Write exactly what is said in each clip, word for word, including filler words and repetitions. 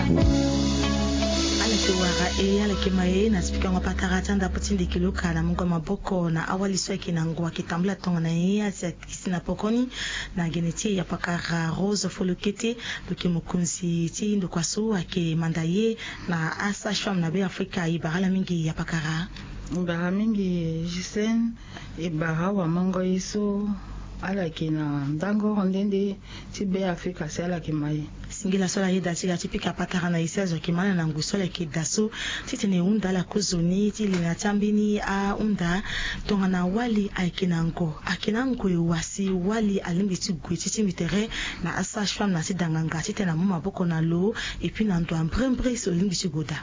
Ala yeke wara e, ala yeke ma e na ti pikango patara ti andapo ti ndeke loka na mungo maboko na awali so ayeke na ngu ayeke tambula tongana ye asi akisi na pokoni. Na gene ti e yapakara Rose Folokete, lo yeke mokonzi ti ndokua so ayeke manda ye na asage-femme na Be Afrika. E bara ala mingi yapakara. E bara mingi Gisène. E bara awamango ye so ala yeke na ndango oro nde nde ti Be Afrika si ala yeke ma e. Singila so ala yeda ti ga ti pika patara na e si azo ayeke ma ala na ngu so ala yeke daa so titene e hunda ala kozoni ti li na ti ambeni ahunda. Tongana wali ayeke na ngo, ayeke na ngo e wa si wali alingbi ti gue ti tingbi tere na asage-femme na ti danganga titene amu maboko na lo, et puis na ndo ambrembre so lingbi ti gue daa?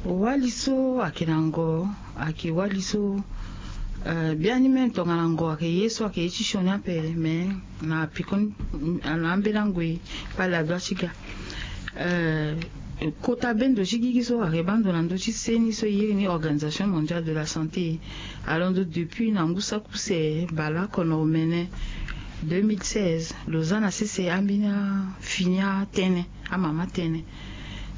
Wali so ayeke na ngo, ayeke wali so, eh, biani même tongana ngo ayeke ye so ayeke ye ti sioni ape, mais na pekoni, na ambeni angoi kpale adua ti ga. Eh, kota bendo ti gigi so ayeke baa ndo na ndö ti seni so e iri ni Organisation Mondiale de la Santé. Alondo depuis na ngu saki use baleoko na omene deux mille seize, lo za na sese ambeni afini atënë, amama tënë.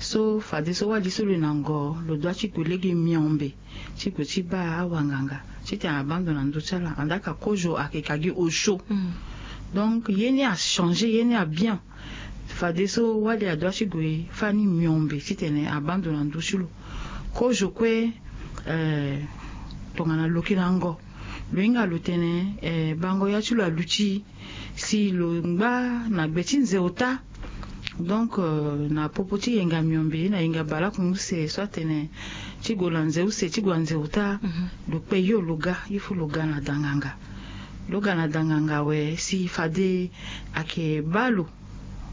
So fadeso wali so lo na ngo, lo dua ti gue lege miombe ti gue ti baa awanganga titene abaa ndo na ndö ti ala. Andaa ka kozo ayeke ka gi osio. Donc ye ni achangé, ye ni abien. Fadeso wali adua ti gue fani miombe titene abaa ndo na ndö ti lo. Kozo kue, eh, tongana lo yeke na ngo, lo hinga lo tene, eh, bango ya ti lo aluti si lo ngba na gbe ti nze ota. Donc, euh, na popo ti yenga miombe na yenga baleoko use so atene ti gue na nze use, ti gue na nze ota, lo kpe yo lo ga, il faut lo ga na danganga. Lo ga na danganga awe si fade ayeke baa lo,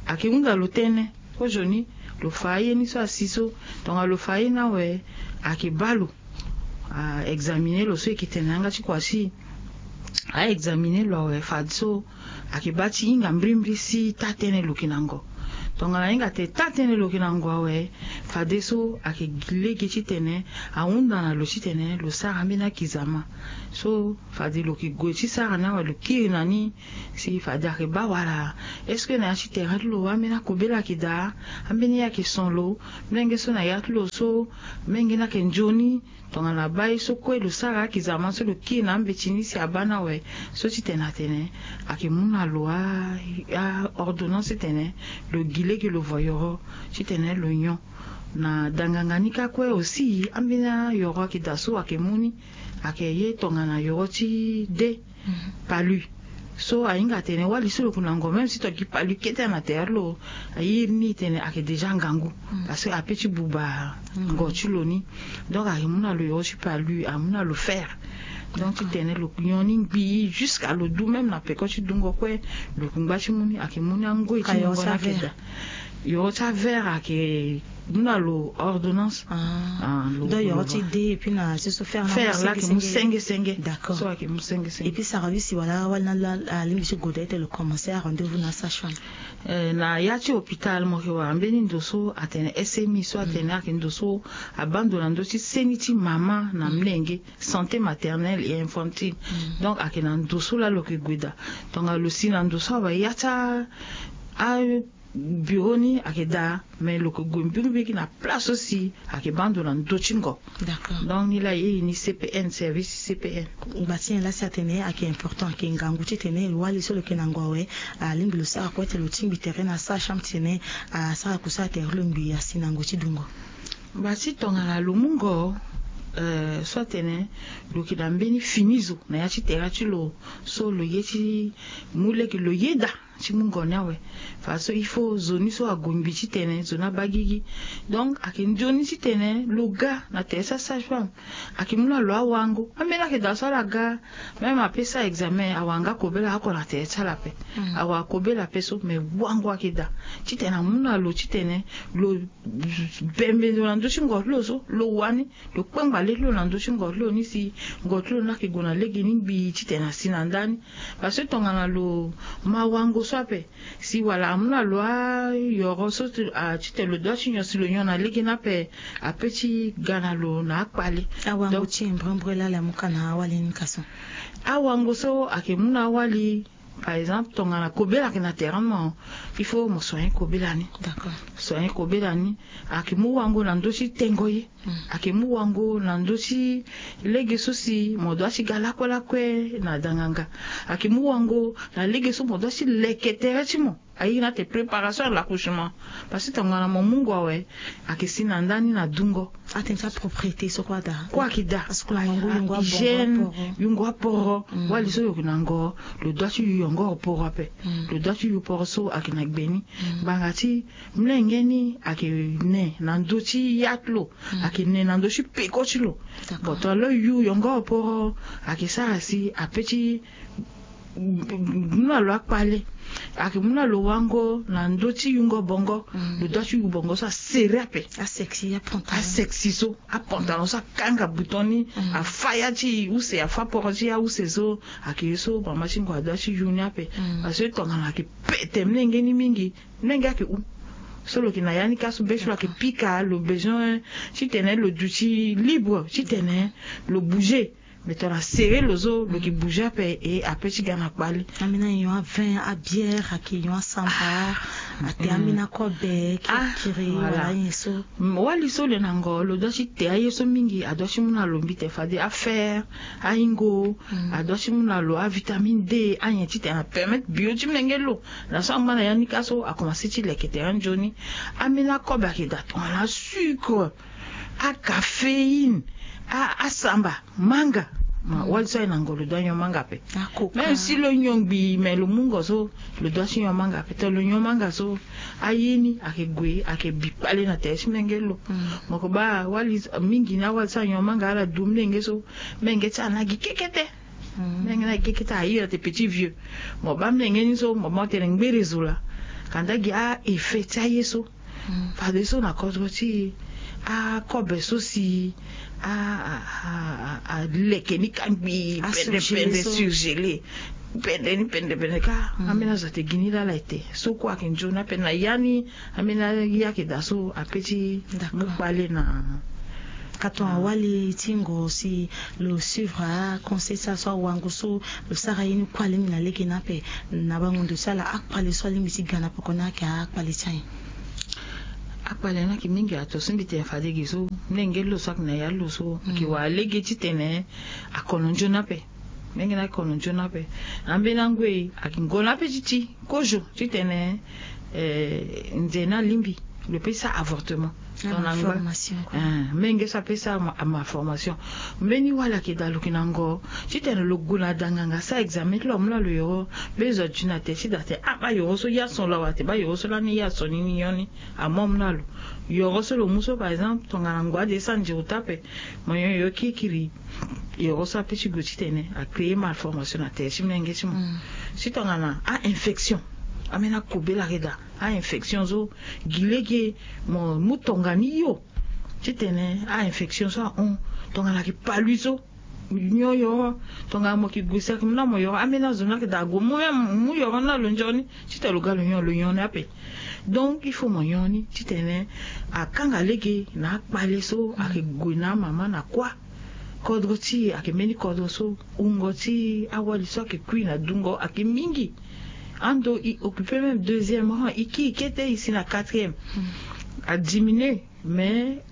ayeke hunda lo tënë. Kozoni lo fa aye ni so asi so, tongana lo fa aye ni awe, ayeke baa lo. A examiner lo so e yeke tene na yanga ti kua si a examiner lo awe fadeso ayeke baa ti hinga mbirimbiri si taa tënë lo yeke na ngo. Tongana a hinga tene taa tënë lo yeke na ngo awe, fadeso ayeke gi lege titene ahunda na lo titene lo sara ambeni akizama. So fade lo yeke gue ti sara ni awe, lo kiri na ni si fade ayeke baa wala. Est-ce que na ya ti tere ti lo ambeni akobela ayeke daa? Ambeni ye ayeke son lo? Mlenge so na ya ti lo so, mlenge ni ayeke nzoni? Tongana abaa ye so kue lo sara akizama so lo kiri na ambeti ni si abaa ni awe, so titene atene ayeke mu na lo a, a ordonnance titene lo gi lege lo voyoro titene lo nyon. Na danganga ni kâ kue aussi, ambeni ayoro ayeke daa so ayeke mu ni, ayeke ye tongana yoro ti de. Palu. So ahinga atene wali so lo yeke na ngo, même si tongana gi palu kete na tere ti lo, a iri ni tene ayeke déjà ngangu. Parce que ape ti buba ngo ti lo ni. Donc ayeke mu na lo yoro ti palu, amu na lo fer. Donc titene lo nyon ni ngbii jusqu'à lo du même na peko ti dungo kue, lo yeke ngba ti mu ni, ayeke mu ni angoi ti ngongo ni ayeke daa. Yoro ti aver ayeke mu na lo ordonnance. Ah, lo, donc yoro ti de, et puis na ti so fer na fer la ayeke mu senge senge. D'accord. So ayeke mu senge senge. Et puis sara bisi wala wali na la alingbi ti gue daa ti lo commencer a rendez-vous na sage-femme? Eh, na ya ti hôpital mo yeke wara mbeni ndo so atene S M I, so atene ayeke ndo so abaa ndo na ndö ti seni ti mama na mlenge, santé maternelle et infantile. Donc ayeke na ndo so laa lo yeke gue daa. Tongana lo si na ndo so awe, ya ti a bureau ni ayeke daa, mais lo yeke gue mbirimbiri na place so si ayeke baa ndo na ndö ti ngo. D'accord. Donc ni laa e iri ni C P N, service C P N. Ngba ti nyen laa si atene ayeke important, ayeke ngangu titene wali so lo yeke na ngo awe, alingbi lo sara kue ti lo tingbi tere na sage-femme titene asara kusala tere ti lo ngbii asi na ngo ti dungo? Ngba ti tongana lo mu ngo, eh, so atene lo yeke na mbeni fini zo na ya ti tere ti lo, so lo ye ti mu lege lo yeda ti mu ngo ni awe. Fadeso il faut zo ni so ague ngbii titene zo ni abaa gigi. Donc ayeke nzoni titene lo ga na tere ti asage-femme. Ayeke mu na lo awango. Ambeni ayeke daa so ala ga, même ape sara examen, awara nga kobela oko na tere ti ala ape. Awara kobela ape so, mais wango ayeke daa titene amu na lo titene lo bembe ndo na ndö ti ngo ti lo so, lo wani lo kpengba le ti lo na ndö ti ngo ti lo ni si ngo ti lo ni ayeke gue na lege ni ngbii titene asi na ndani. Parce que tongana lo ma wango so ape, si wala amu na lo ayoro so ti, a, titene lo dua ti nyon, si lo nyon na lege ni ape, ape ti ga na lo na akpale. Awango ti e mbrembre laa ala mu ka na awali ni ka so. Awango so ayeke mu na awali, Par exemple tongana kobela ayeke na terrain ni mo, il faut mo soigner kobela ni. D'accord. Soigner kobela ni. Ayeke mu wango na ndö ti tengo ye. Ayeke mu wango na ndö ti lege so si mo doit ti ga lakue lakue na danganga. Ayeke mu wango na lege so mo doit ti leke tere ti mo. Aye na ate préparation à l'accouchement. Parce que tongana mo mu ngo awe, ayeke si na ndani na dungo. Ate ti apropriété so kue ada. Kue ayeke daa. Parce que na ngo yungo abongo hygiène aporo. Yungo aporo. Wali so yo yeke na ngo, lo doit ti yu yongoro poro ape. Lo doit ti yu poro so ayeke na gbe ni. Ngbanga ti mlenge ni ayeke ne na ndö ti ya ti lo. Ayeke ne na ndö ti peko ti lo. Bon, tongana lo yu yongoro poro, ayeke sara si ape ti mu na lo akpale. Ayeke mu na lo wango na ndö ti yungo bongo. Lo doit ti yu bongo so asere ape. Asexy apantalon. Asexy so apantalon so akanga bouton ni. Afa ya ti use, afa poro ti ya use so. Ayeke ye so mama ti ngo adoit ti yu ni ape. Parce que tongana ayeke pete mlenge ni mingi, mlenge ayeke hu. So lo yeke na ya ni ka so be so lo yeke pika lo besoin titene lo duti libre titene lo bouger. Mais tongana sere lo so lo yeke bouger ape, e ape ti ga na kpale. Ambeni anyon avin, abière, ayeke nyon asamba. Ate ambeni akobe kirikiri wala anyen so. Wali so lo yeke na ngo lo doit ti te aye so mingi, adoit ti mu na lo mbite fade afer, aingo. Adoit ti mu na lo avitamine D, anyen titene apermettre bio ti mlenge lo. Na so angba na ya ni ka so akomanse ti leke tere nzoni. Ambeni akobe ayeke daa tongana asucre, acaféine, asamba, manga. Wali so aye na ngo lo doit nyon manga ape. Même si lo nyon ngbii, mais lo mu ngo so lo doit ti nyon manga ape. Tongana lo nyon manga so, aye ni ayeke gue, ayeke bi kpale na tere ti mlenge lo. Mo yeke baa wali mingi ni, awali so anyon manga ala du mlenge so, mlenge ti ala na gi kekete. Mlenge na gi kekete, aye na ate petit vieux. Mo baa mlenge ni so mo baa mo tene ngbere zo laa. Kanda gi a-effet ti aye so. Fadeso na kodro ti akobe so si aleke ni ka ngbii, pende pende, surgelé. Pende ni pende pende ka. Ambeni azo ate gi ni laa ala ete so kue ayeke nzoni ape na ya ni. Ambeni aye ayeke daa so ape ti mu kpale na. Ka tongana wali ti ngo si lo suivre aconseil ti ala so awango so lo sara ye ni kue alengi na lege ni ape, na bango ndo ti ala akpale so alingbi ti ga na peko ni ayeke akpale ti anyen? Akpale ni ayeke mingi ato so mbi tene fade ge so, mlenge lo so ayeke na ya lo so ayeke wara lege titene akono nzoni ape. Mlenge ni akono nzoni ape. Ambeni angoi ayeke ngo ni ape ti ti kozo titene nze ni alingbi lo pe ti sara avortement. Tongana ngba menge so ape ti sara malformation. Mbeni wali ayeke daa lo yeke na ngo titene lo gue na danganga sara examen ti lo amu na lo yoro. Mbeni zo adu na tere ti daa tene ah baa yoro so ya son lo awe ate baa yoro so lani ya son ni ni nyon ni. Amu amu na lo yoro so lo mu so par exemple tongana ngo ade ti sara nziro taa ape. Mo nyon yoro kirikiri. Yoro so ape ti gue titene acréer malformation na tere ti mlenge ti mo. Si tongana a-infection, ambeni akobela ayeke daa. A-infection so gi lege mo mu tonga ni hio titene a-infection so ahon. Tongana ayeke palui so nyon yoro. Tongana mo yeke gue si ayeke mu na mo yoro, ambeni azo ni ayeke daa ague mu même mu yoro ni na lo nzoni titene lo ga lo nyon, lo nyon ni ape. Donc il faut mo nyon ni titene akanga lege na akpale so ayeke gue na amama na kuâ. Kodro ti e ayeke mbeni kodro so wungo ti awali so ayeke kui na dungo ayeke mingi. Ando e occuper même deuxième rang, e kiri kete e si na quatrième. Adiminuer. Mais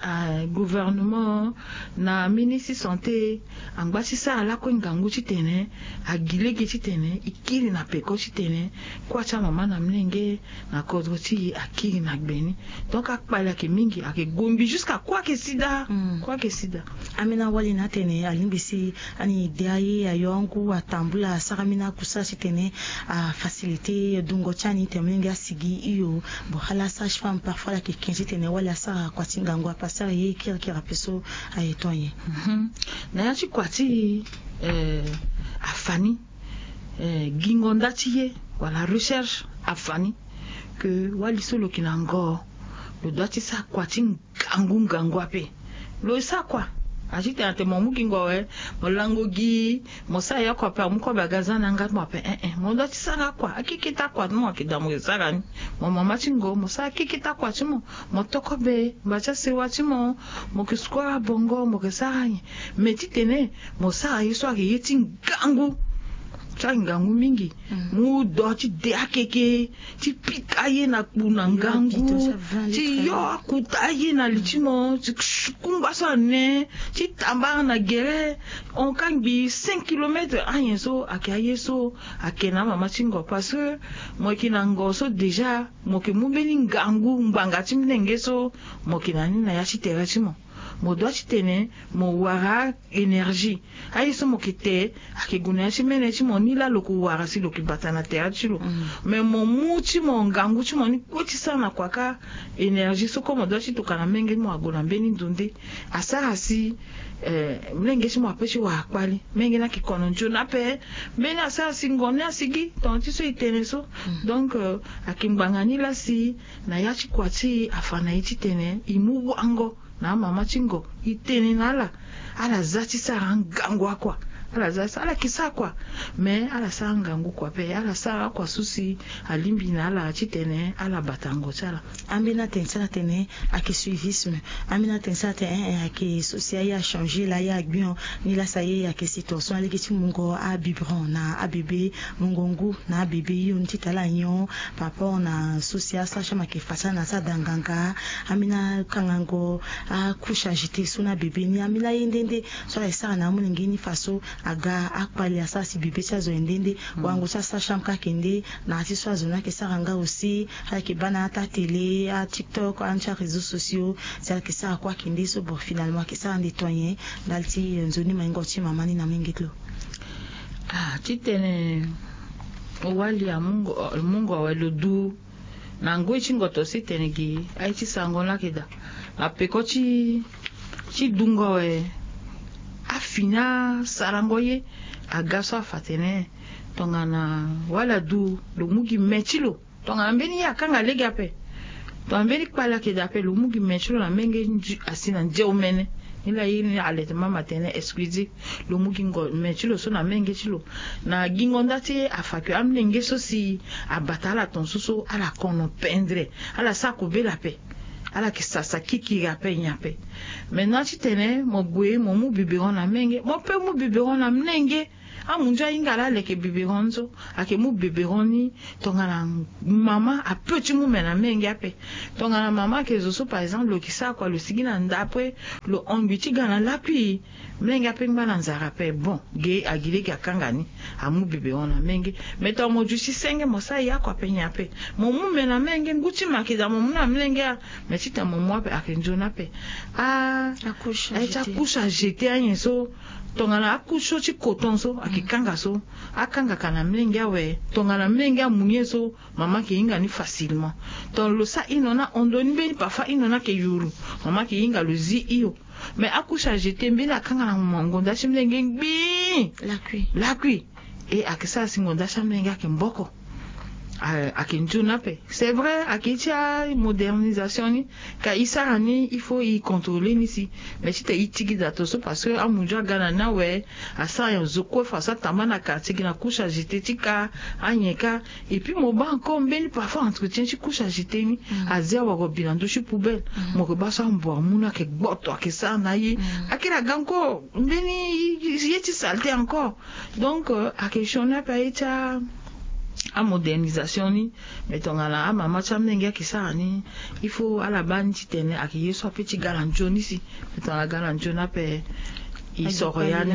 gouvernement na ministre ti santé angba ti sara lakue ngangu titene agi lege titene e kiri na peko titene kuâ ti amama na mlenge na kodro ti e akiri na gbe ni. Donc akpale ayeke mingi, ayeke gombi jusqu'à kuâ ayeke sida. Kuâ ayeke sida. Ambeni awali ni atene alingbi si ani de aye ayo angu atambula asara ambeni akusala titene afaciliter dungo ti ani tene mlenge asigi hio. Bon ala sage-femme parfois ala yeke ke titene wali asara kua ti ngangu ape asara ye kirikiri ape so aye to nyen? Na ya ti kua ti afa ni, gingo nda ti ye wala recherche afa ni ke wali so lo yeke na ngo lo doit ti sara kua ti ngangu ngangu ape. Lo sara kua. A ti tene ate mo mu gingo awe, mo lango gi, mo sara ye oko ape amu kobe aga za na yanga ti mo ape. Eh eh, mo doit ti sara akua, akeketa akua ti mo ayeke daa mo yeke sara ni. Mo mama ti ngo mo sara akeketa akua ti mo. Mo to kobe ngba ti asewa ti mo. Mo yeke sukura bongo, mo yeke sara nyen? Mais titene mo sara ye so ayeke ye ti ngangu. ti angangu mingi. Mu do ti de akeke, ti pika aye na kpu na ngangu, ti yo akuta aye na li ti mo, ti kungba so ane, ti tambara na gere. Hon kangbi cinq kilomètres anyen so ayeke aye so ayeke na amama ti ngo parce que mo yeke na ngo so déjà mo yeke mu mbeni ngangu ngbanga ti molenge so mo yeke na ni na ya ti tere ti mo. Mo dua ti tene mo wara énergie. Aye so mo yeke te ayeke gue na ya ti mene ti mo ni laa lo yeke wara si lo yeke bata na tere ti lo. Mais mo mu ti mo ngangu ti mo ni kue ti sara na kua kâ. Énergie so kue mo dua ti tokana menge ti mo ague na mbeni ndo nde asara si molenge ti mo ape ti wara kpali. Menge ni ayeke kono nzoni ape. Mbeni asara si ngo ni asigi tongana ti so e tene so. Donc ayeke ngbanga ni laa si na ya ti kua ti e afa na e ti tene e mu wango na amama ti ngo, e tene na ala. Ala za ti sara angangu akua. Ala za ti sara ala yeke sara kua. Mais ala sara angangu kua ape ala sara akua so si alingbi na ala ti tene ala bata ngo ti ala. Ambeni atene ti ala atene ayeke suivisme. Ambeni atene ti ala atene eh, eh, ayeke so si aye achangé laa aye agbion. Ni laa si aye ayeke situation alege ti mungo abiberon na abebe, mungo ngu na abebe hio ni ti tala nyon. Par rapport na so si asara ti ama ayeke fa ti ala na asara da nganga. Ambeni akangango acouche agité so na bebe ni ambeni aye nde nde so ala yeke sara na amolenge ni fa so aga akpali asara si bebe ti azo aye nde nde. Wango ti asara ti ama kâ ayeke nde. Na ya ti so azo ni ayeke sara nga aussi. Ala yeke baa na ata télé atiktok ande ti aréseaux sociaux. Si ala yeke sara kue ayeke nde so bon finalement ayeke sara nde to nyen? Ndali ti nzoni maingo ti mama ni na menge ti lo. Ah, titene wali amungo awe lo du na ngoi ti ngoto so e tene gi aye ti sarango ni ayeke daa. Na peko ti ti dungo awe. Afini asarango ye. Aga so afa tene tongana wali adu lo mu gi me ti lo. Tongana mbeni ye akanga lege ape. Tongana mbeni kpali ayeke daa ape lo mu gi me ti lo na menge asi na nze omene. Ni laa ye ni allaitement maternel exclusif. Lo mu gi ngo me ti lo so na menge ti lo. Na gingo nda ti afa ke amolenge so si abata ala tongaso so ala kono pendre. Ala sara kobela ape. Ala yeke sasa kikiri ape nyen ape. Maintenant titene mo gue mo mu biberon na menge mo pe mu biberon na mlenge. Amunzu ahinga laa leke biberon ni so. Ayeke mu biberon ni. Tongana mama ape ti mu me na menge ape. Tongana mama ayeke zo so par exemple lo yeke sara kua lo sigi na nda ape. Lo hongbi ti ga na lakui. Mlenge ape ngba na nzara ape bon ge agi lege akanga ni. Amu biberon na menge. Me tongana mo duti senge mo sara ye akua ape nyen ape. Mo mu me na menge ngu ti me ayeke daa mo mu na mlenge. Me titene mo mu ape ayeke nzoni ape. Ah, aye ti acouche agité anyen so. Tongana acouche so ti coton so ayeke kanga so. Akangaka na mlenge awe. Tongana mlenge amu ni ye so mama ayeke hinga ni facilement. Tongana lo sara hino ni ahondo ni mbeni parfois hino ni ayeke yuru. Mama ayeke hinga lo zi hio. Mais acouche agité mbeni akanga na ngonda ti mlenge ngbii. Lakui. Lakui. E ayeke sara si ngonda ti amlenge ayeke mboko. Ayeke nzoni ape. C'est vrai ayeke ti amodernisation ni. Ka e sara ni il faut e contrôler ni si. Mais titene e tigida tongaso parce que amunzu aga na ni awe. Asara nyen zo kue fa so atamba na quartier gi na couche agité ti ka. Anyen ka. Et puis mo baa encore mbeni parfois entretien ti couche agité ni. Azi awara bi na ndö ti poubelle. Mo yeke baa so amboire mu ni ayeke gboto ayeke sara na aye. Akiri aga encore mbeni ye ti saleté encore. Donc ayeke sioni ape aye ti amodernisation ni. Mais tongana amama ti amlenge ayeke sara ni. Il faut ala baa ni titene ayeke ye so ape ti ga na nzoni si. Mais tongana aga na nzoni ape e soro ya ni.